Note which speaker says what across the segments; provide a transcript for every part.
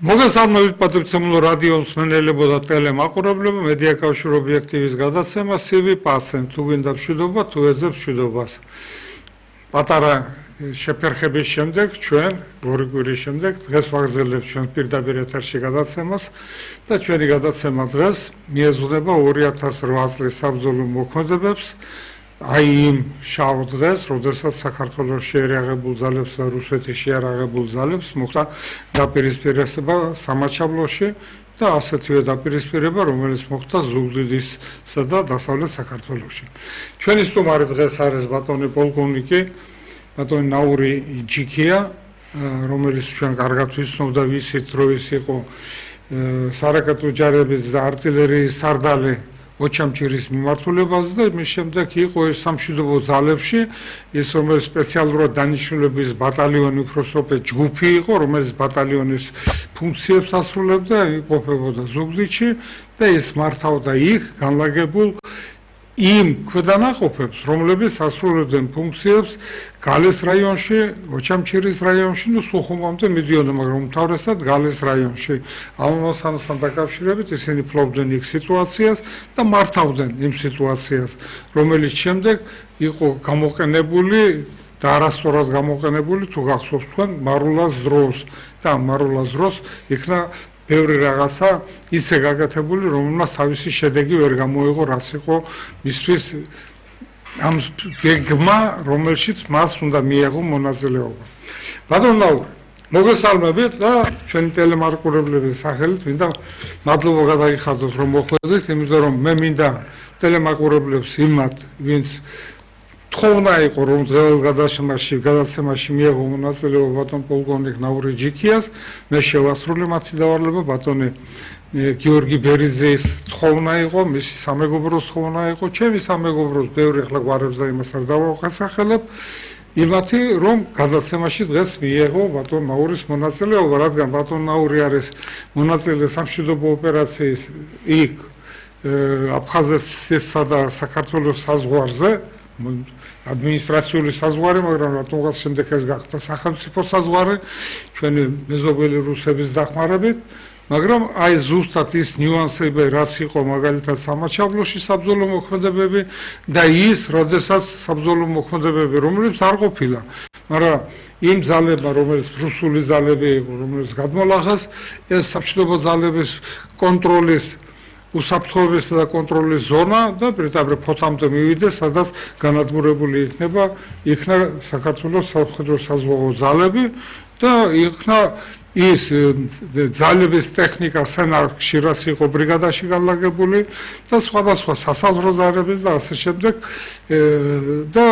Speaker 1: მოგესალმებით პატრიცემულო რადიო მსმენელებო და ტელემაყურებლებო, მედია კავშირ ობიექტივის გადაცემა CV პასენ, თუ გინდა მშვიდობა, თუ ეძებს მშვიდობას. პატარა შეფერხების შემდეგ ჩვენ ორი კვირის შემდეგ დღეს ვაგრძელებთ ჩვენ პირდაპირ ეთერში გადაცემას და ჩვენი გადაცემა დღეს მიეძღვნება 2008 წლის საბრძოლო მოქმედებებს. აი იმ შავ დღეს, როდესაც საქართველოს შეერაღებულ ძალებს და რუსეთის შეერაღებულ ძალებს მოხდა დაპირისპირება სამაჩაბლოში და ასეთივე დაპირისპირება, რომელიც მოხდა ზუგდიდისა და დასავლეთ საქართველოში. ჩვენი სტუმარი დღეს არის ბატონი პოლკოვნიკი, ბატონი ნაური ჯიქია, რომელიც ჩვენ კარგად ვიცნობ და ვიცით, რომ ის იყო სარაკეტო ჯარების და артиლერიის სარდალი ოჩამჭირის მიმართულებაზე და მის შემდეგ იყო ეს სამშვიდობო ძალებში, ის რომელიც სპეციალურად დანიშნულების ბატალიონი უფროსობე ჯგუფი იყო, რომელიც ბატალიონის ფუნქციებს ასრულებდა, იყოფებოდა ზუგდიდში და ის მართავდა იქ განლაგებულ იმ ქვედანაყოფებს, რომლებიც ასრულებდნენ ფუნქციებს გალეს რაიონში, ოჩამჭირის რაიონში, სუხუმამდე მიდიოდა, მაგრამ უმთავრესად გალეს რაიონში. ამასთან დაკავშირებით ისინი ფლობდნენ იქ სიტუაციას და მართავდნენ იმ სიტუაციას, რომელიც შემდეგ იყო გამოყენებული და არასწორად გამოყენებული, თუ გახსოვთ თქვენ, მარულას დროს და მარულას დროს იქნა ბევრი რაღაცა ისე გაკეთებული, რომელმაც თავისი შედეგი ვერ გამოიღო, რაც იყო მისთვის ამ გეგმა, რომელშიც მას უნდა მიეღო მონაწილეობა. ბატონო ნაური, მოგესალმებით და ჩვენი ტელემაყურებლების სახელით მინდა მადლობა გადაიხადოთ, რომ მოხვედით, იმიტომ რომ მე მინდა ტელემაყურებლებს იმათ, ვინც თხოვნა იყო, რომ დღევანდელ გადაცემაში მიეღო მონაწილეობა ბატონ პოლკოვნიკ ნაური ჯიქიას, მე შევასრულე მათი დავალება, ბატონი გიორგი ბერიძის თხოვნა იყო, მისი სამეგობროს თხოვნა იყო, ჩემი სამეგობროს ბევრი ახლა გვარებს და იმას არ დავახასახელებ, იმათი, რომ გადაცემაში დღეს მიეღო ბატონ ნაურის მონაწილეობა, რადგან ბატონ ნაური არის მონაწილე სამშვიდობო ოპერაციის იქ აფხაზეთსა და საქართველოს საზღვარზე, ადმინისტრაციული საზღვარი, მაგრამ რატომღაც შემდეგ ეს გახდა სახელმწიფო საზღვარი, ჩვენი მეზობელი რუსების დახმარებით, მაგრამ აი ზუსტად ის ნიუანსები, რაც იყო მაგალითად სამაჩაბლოში საბრძოლო მოქმედებები და ის, როდესაც საბრძოლო მოქმედებები, რომლებიც არ ყოფილა, მაგრამ იმ ძალებმა, რომელიც რუსული ძალები იყო, რომელიც გადმოლახეს, ეს სამშვიდობო ძალების კონტროლის უსაფრთხოებისა და კონტროლის ზონა და პირდაპირ ფოთამდე მივიდეს, სადაც განადგურებული იქნა საქართველოს სამხედრო საზღვაო ძალები და იქნა ის ძალების ტექნიკა სენარკში, რაც იყო ბრიგადაში განლაგებული და სხვადასხვა სასაზღვრო ძალების და ასე შემდეგ და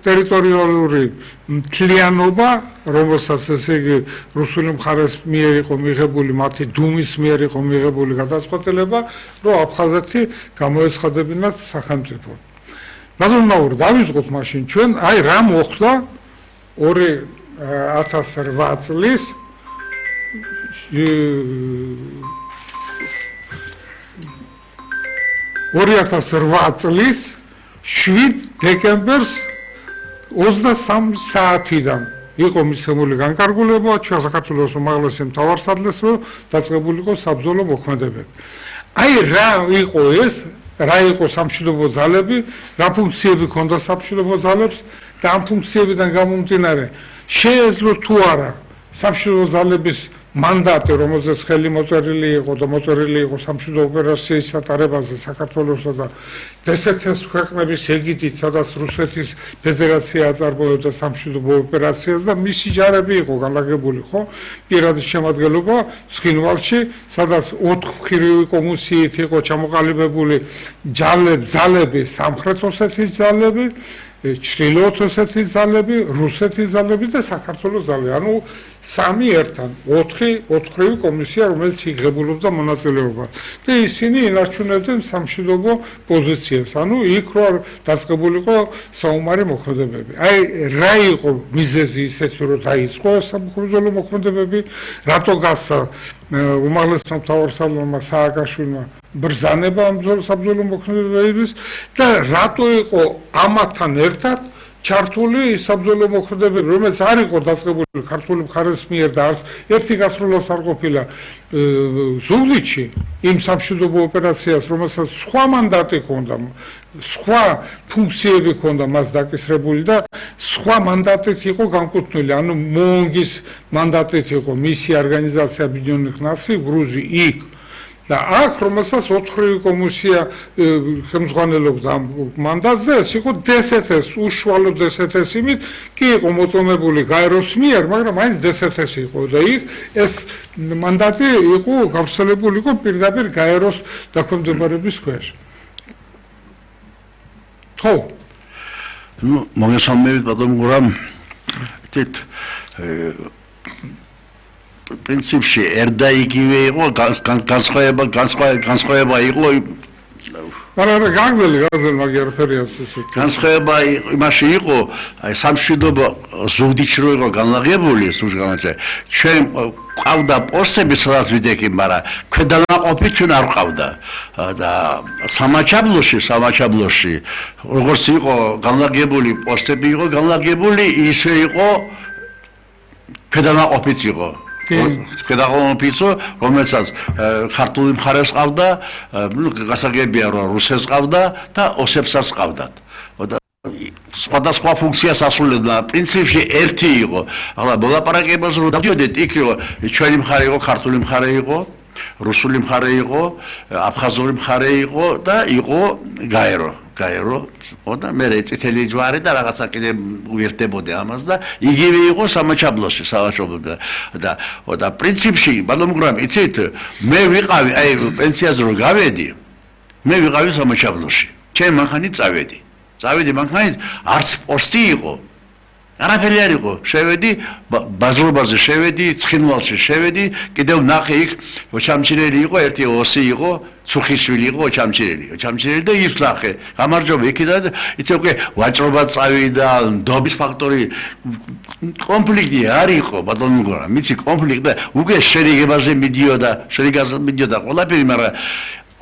Speaker 1: ტერიტორიული მთლიანობა, რომელსაც ესე იგი რუსული მხარეს მიერ იყო მიღებული, მათი დუმის მიერ იყო მიღებული გადაწყვეტილება, რომ აფხაზეთი გამოეცხადებინათ სახელმწიფოდ. ბატონო ნაური, დავიწყოთ მაშინ ჩვენ, აი რა მოხდა 2008 წლის 2008 წლის 7 დეკემბერს 23 საათიდან იყო მიცემული განკარგულება ჩვენ საქართველოს უმაღლესი მთავარსარდლს, რომ დაწყებულიყო საბრძოლო მოქმედებები. აი რა იყო ეს, რა იყო სამშვიდობო ძალები, რა ფუნქციები ჰქონდა სამშვიდობო ძალებს და ამ ფუნქციებიდან გამომდინარე შეეძლო თუ არა სამშვიდობო ძალების მანდატი, რომელზეც ხელი მოწერილი იყო და მოწერილი იყო სამშვიდობო ოპერაციის ჩატარებაზე საქართველოსა და დსთ-ს ქვეყნების ეგიდით, სადაც რუსეთის ფედერაცია აწარმოებდა სამშვიდობო ოპერაციას და მისი ჯარები იყო განლაგებული, ხო? პირადი შემადგენლობა ცხინვალში, სადაც 4 მხრივი კომისიით იყო ჩამოყალიბებული ძალები, სამხრეთ ოსეთის ძალები, ჩრდილოეთ ოსეთის ძალები, რუსეთის ძალები და საქართველოს ძალები. ანუ სამი ერთად, 4 მხრივი კომისია, რომელიც იღებულობდა მონაწილეობას. და ისინი ინარჩუნებდნენ სამშვიდობო პოზიციებს. ანუ იქ რო დაწყებულიყო საომარი მოქმედებები. აი რა იყო მიზეზი ისეთი, რომ დაიწყო საბრძოლო მოქმედებები, რატო გასცა უმაღლესმა მთავარსარდლმა სააკაშვილმა ბრძანება ამ საბრძოლო მოქმედებების და რატო იყო ამათთან ერთად ჩართული საბრძოლო მოქმედებები, რომელიც არ იყო დაწყებული ქართული მხარის მიერ და ერთი გასროლას არ ყოფილა ზუგდიდში იმ სამშვიდობო ოპერაციას, რომელსაც სხვა მანდატი ჰქონდა, სხვა ფუნქციები ჰქონდა მას დაკისრებული და სხვა მანდატით იყო განკუთვნილი, ანუ მონგის მანდატით იყო მისი ორგანიზაცია Объединенных Наций გრუზი იქ. და აქ რომელსაც 4-ი კომისია ხელმძღვანელობდა მანდატს და ეს იყო DSTS, უშუალო DSTS იმით, კი იყო მოწონებული გაეროს მიერ, მაგრამ მაინც DSTS იყო და იქ ეს მანდატი იყო გავრცელებული იყო პირდაპირ გაეროს დაქვემდებარების ქვეშ. ხო.
Speaker 2: Ну, მოგესალმებით ბატონ გურამ. თით პრინციპში ერდა იგივე იყო განსხვავება იყო
Speaker 1: არა გაგზელი მაგერ ფერიას
Speaker 2: განსხვავება იმაში იყო აი სამშვიდობო ზუგდიდში რო იყო განლაგებული სულგანაჩე ჩვენ ყავდა პოსტები სადაც ვიდექი მაგრამ ქვედანაყოფი ჩვენ არ ყავდა და სამაჩაბლოში როგორც იყო განლაგებული პოსტები იყო განლაგებული ისე იყო ქვედანაყოფიც იყო ქედაღონოფიცო რომელსაც ქართული მხარეს ყავდა, გასაგებია რომ რუსეთს ყავდა და ოსებსაც ყავდათ. სხვადასხვა ფუნქციას ასრულებდა. პრინციპში ერთი იყო. ახლა მოლაპარაკებაზე რომ დავდიოდეთ, იქ იყო ჩვენი მხარე იყო, ქართული მხარე იყო, რუსული მხარე იყო, აფხაზური მხარე იყო და იყო გაერო. ხო და მე წითელი ჯვარი და რაღაცა კიდე უერთდებოდა ამას და იგივე იყო სამაჩაბლოში და პრინციპში ბატონო გრამ იცით მე ვიყავი აი პენსიაზე რომ გავედი მე ვიყავი სამაჩაბლოში ჩემ მანქანი წავედი მანქანით არც პოსტი იყო არაფერი არ იყო შევედი ბაზრობაზე შევედი ცხინვალში შევედი კიდევ ნახე იქ ოჩამჩირელი იყო ერთი ოსი იყო ცუხიშვილი იყო ოჩამჩირელი და ის ნახე გამარჯობა იქიდან იცი უკვე ვაჭრობა წავიდა ნდობის ფაქტორი კონფლიქტი არ იყო ბატონო გორა მიცი კონფლიქტი და უკვე შერიგებაზე მიდიოდა ყველაფერი მაგრამ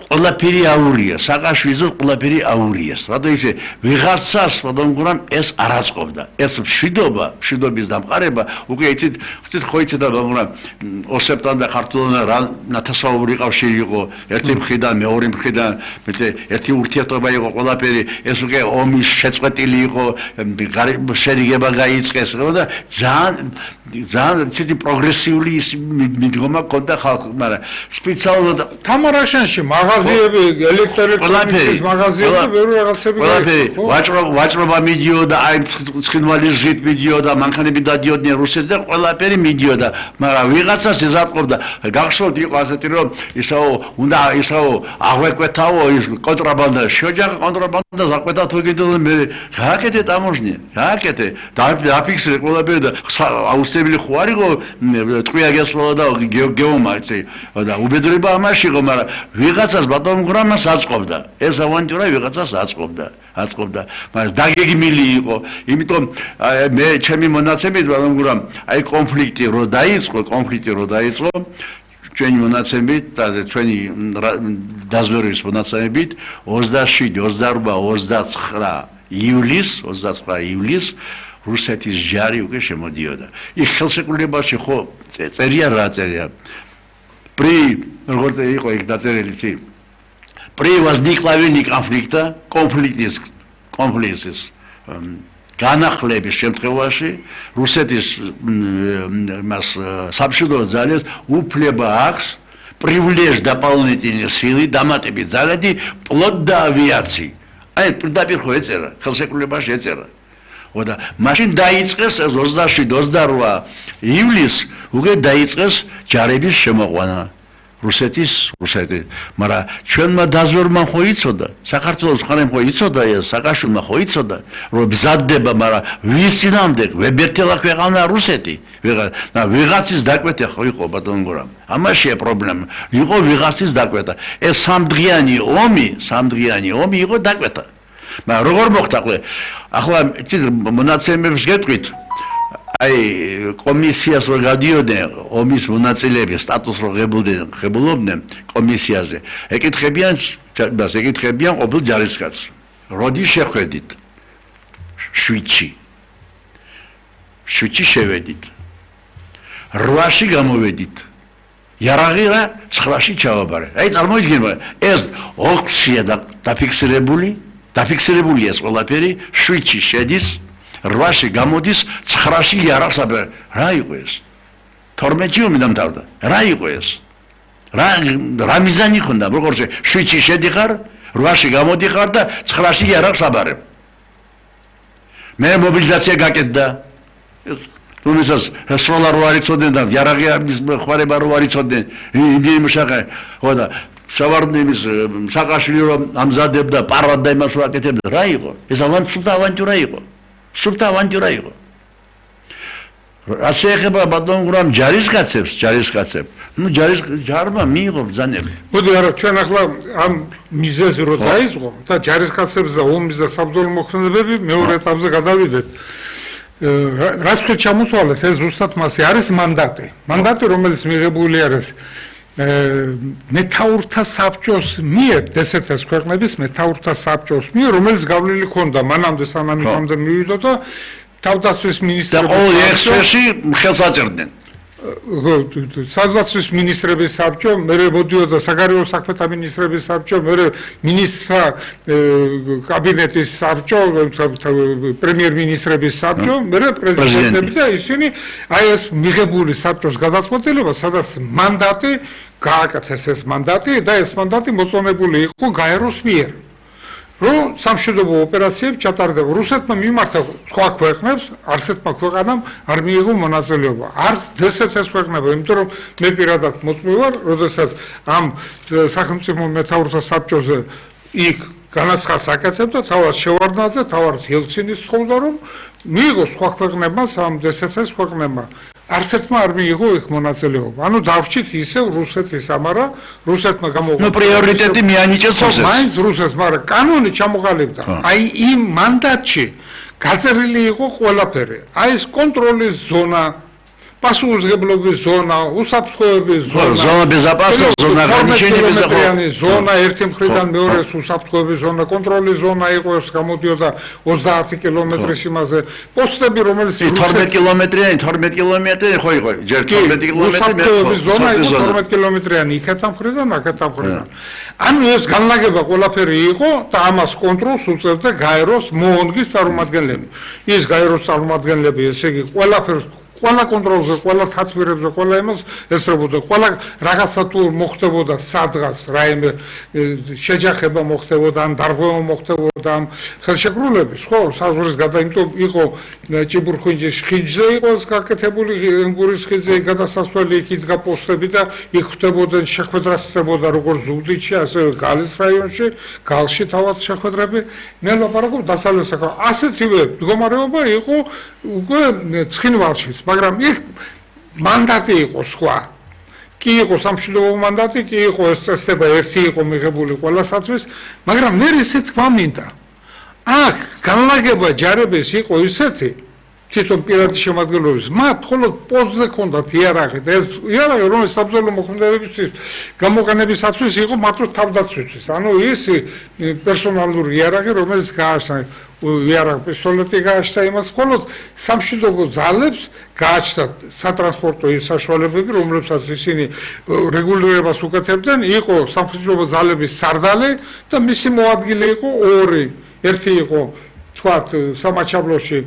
Speaker 2: ყველაფერი აურია საყაშვილზე ყველაფერი აურიას რადგან ისე ვიღაცას ბატონო გურამ ეს არ აწყობდა ეს მშვიდობის დამყარება უკვე იცით ხო იცით და ბატონო ოსებთან და ქართულთან რა ნათესაობრივი კავშირი იყო ერთი მხრიდან მეორე მხრიდან მეტე ერთი ურთიერთობა იყო ყველაფერი ეს უკვე ომის შეწყვეტილი იყო შერიგება გაიწყეს და ძალიან ცეთი პროგრესიული მიდგომა ჰქონდა ხალხს მაგრამ სპეციალურად
Speaker 1: თამარაშენში მაღაზიები ელექტროენერგიის მაღაზიები ბევრი რაღაცები
Speaker 2: ვაჭრობა მიდიოდა აი ცხინვალის ზით მიდიოდა მანქანები დადიოდნენ რუსეთს და ყველაფერი მიდიოდა მაგრამ ვიღაცას ეზარყოფდა გახსოვთ იყო ასეთი რომ უნდა აღვეკვეთაო ის კონტრაბანდა შეჯახა კონტრაბანდა ზაკვეთა თუ კიდევ მე გააკეთე ტამოჟნია გააკეთე დაფიქსირე ყველაფერი და აუცილებელი ხო არ იყო ტყვია გასვლა და გეომარცი და უბედურება ამაში იყო მაგრამ ვიღაცას ბატონო გრამას აწყობდა ეს ავანტურა ვიღაცას აწყობდა მაგრამ დაგეგმილი იყო იმიტომ მე ჩემი მონაცემით ბატონო გრამ აი კონფლიქტი რო დაიწყო ჩვენი მონაცემით და ჩვენი დაზვერვის მონაცემით 27 28 29 ივლის რუსეთის ჯარი უკვე შემოდიოდა. იქ ხელშეკრულებაში ხო წერია როგორც იყო იქ დაწერილი ცი. При возникновении კონფლიქტის განახლების შემთხვევაში რუსეთის მას სამშვიდობო ძალებს უფლება აქვს привлечь дополнительные силы დამატებით ძალები плот და ავიაცი. აი პირდაპირ ხო ეწერა ხელშეკრულებაში ეწერა. და მაშინ დაიწყეს 27-28 ივლისს უკვე დაიწყეს ჯარების შემოყვანა რუსეთის მაგრამ ჩვენმა დაზვერვამ ხო იცოდა საქართველოს მხარემ ხო იცოდა ეს სააკაშვილმა ხო იცოდა რომ ბზადდება მაგრამ ვის წინამდებ ვებერთელა ქვეყანა რუსეთი ვიღაცის დაკვეთა ხო იყო ბატონო გორამ ამაშია პრობლემა იყო ვიღაცის დაკვეთა ეს სამდღიანი ომი იყო დაკვეთა მაგრამ როგორ მოხდა ახლა მონაცემებს გეტყვით აი კომისიას რო გადიოდნენ ომის მონაწილეები სტატუსს რო ღებულობდნენ კომისიაზე ეკითხებიან ყოფილ ჯარისკაცს როდის შეხვედით 7-ში შევედით 8-ში გამოვედით იარაღი რა 9-ში ჩავაბარე აი წარმოიდგინე ეს 4-ია დაფიქსირებული ეს ყველაფერი 7-ში შედის 8-ში გამოდის 9-ში იარაღს აბერე რა იყო ეს 12-ში ომი დამთავრდა რა იყო ეს რა მიზანი ხონდა როგორც 7-ში შედიხარ 8-ში გამოდიხარ და 9-ში იარაღს აბარებ მე მობილიზაცია გაკეთდა თუმცა სროლა რო არიწოდნენ და იარაღი ამის ხوارება რო არიწოდნენ იმდენი მუშაყე ხო და შავარდნების საყაშვილი რომ ამზადებდა პარვად და იმას რო აკეთებდა რა იყო ეს სუფთა ავანტურა იყო ასე ეხება ბატონ გურამ ჯარისკაცებს ჯარმა მიიღო ბრძანები
Speaker 1: მოდი არა ჩვენ ახლა ამ მიზეზი რო დაიწყო და ჯარისკაცებს და ომის და საბრძოლო მოქმედებები მეორე ეტაპზე გადავიდეთ რას თქვით ჩამოთვალეთ ეს ზუსტად მასე არის მანდატი რომელიც მიღებული არის მეთაურთა საბჭოს მიერ დსთ-ს ქვეყნების მეთაურთა საბჭოს მიერ რომელიც გავლილი ქონდა მანამდე სანამ იქამდე მივიდო და თავდაცვის მინისტრები
Speaker 2: და ყოველ ექსპერტში ხელს აწერდნენ
Speaker 1: საზღვარგარეთის მინისტრების საბჭო, მერე მოდიოდა საგარეო საქმეთა მინისტრების საბჭო, მერე მინისტრთა კაბინეტის საბჭო, პრემიერ-მინისტრების საბჭო, მერე პრეზიდენტები და ისინი აი ეს მიღებული საბჭოს გადაწყვეტილება, სადაც მანდატი გააკეთეს ეს მანდატი და ეს მანდატი მოწონებული იყო გაეროს მიერ. რომ სამშვიდობო ოპერაციები ჩატარდება. რუსეთმა მიმართა სხვა ქვეყნებს, არცერთმა ქვეყანამ არ მიიღო მონაწილეობა. არც დსთ-ს ქვეყნებმა, იმიტომ რომ მე პირადად მოწმე ვარ, როდესაც ამ სახელმწიფო მეთაურთა საბჭოზე იქ განაცხადს აკეთებდა თავად შევარდნაძე, თავად ელცინის ცხოვრდა რომ მიიღო სხვა ქვეყნებმა, ამ დსთ-ს ქვეყნებმა. არცერთმა არ მიიღო იქ მონაწილეობა. ანუ დავრჩით ისევ რუსეთის, ამარა რუსეთმა გამოუყო.
Speaker 2: ნუ პრიორიტეტი მიანიჭეს რუსეთს.
Speaker 1: მაინც რუსეთს, მაგრამ კანონი ჩამოყალიბდა. აი იმ მანდატში გაწერილი იყო ყველაფერი. აი ეს კონტროლის ზონა, პასუხისმგებლობის ზონა, უსაფრთხოების ზონა,
Speaker 2: ზონა безопасности, ზონა განშენების
Speaker 1: ზონა, ერთი მხრიდან მეორე უსაფრთხოების ზონა, კონტროლის ზონა იყო ეს გამოდიოდა 30 კილომეტრის იმაზე. პოსტები რომელიც
Speaker 2: 12 კილომეტრიანი, 12 კილომეტრი ხო იყო, ჯერ 12 კილომეტრი მე
Speaker 1: ზონა იყო 12 კილომეტრიანი იქეთან მხრიდან, აქეთან მხრიდან. ანუ ეს განლაგება ყველაფერი იყო და ამას კონტროლს უწევდა გაეროს მოონგის წარმომადგენლები. ის გაეროს წარმომადგენლები, ესე იგი ყველაფერს ყველა კონტროლზე, ყველა თათბირებზე, ყველა იმას ესწრებოდა, ყველა რაღაცა თუ მოხდებოდა სადღაც, რაიმე შეჯახება მოხდებოდა, ან დარღვევა მოხდებოდა, ან ხელშეკრულების, ხო, საზღვრის გადაიმტო იყო ჭიბურხინჯის ხიჯზე იყო გაკეთებული, ენგურის ხიძზე გადასასვლელი იქ იდგა პოსტები და იქ ხდებოდნენ შეხვედრასწრებოდა როგორც ზუგდიდში, ასევე გალის რაიონში, გალში თავად შეხვედრები, მე ლაპარაკობ დასავლეთ საქართველოს. ასეთივე მდგომარეობა იყო უკვე ცხინვალშიც. მაგრამ იქ მანდატი იყო სხვა. კი იყო სამშვიდობო მანდატი, კი იყო ეს წესდება ერთი იყო მიღებული ყველასათვის, მაგრამ მე ისე თქვა მინდა. აქ განლაგება ჯარების იყო ისეთი, თვითონ პირადი შემადგენლობის, მათ მხოლოდ პოსტზე ჰქონდათ იარაღი და ეს იარაღი რომელიც საბრძოლო მოქმედებისთვის გამოყენებისათვის იყო მარტო თავდაცვისთვის. ანუ ის პერსონალური იარაღი, რომელიც გააჩნდა იარაღ პისტოლეტი გააჩნდა იმას, მხოლოდ სამშვიდობო ძალებს გააჩნდა სატრანსპორტო საშუალებები, რომლებსაც ისინი რეგულირებას უკეთებდნენ, იყო სამშვიდობო ძალების სარდალი და მისი მოადგილე იყო ორი. ერთი იყო თქვათ სამაჩაბლოში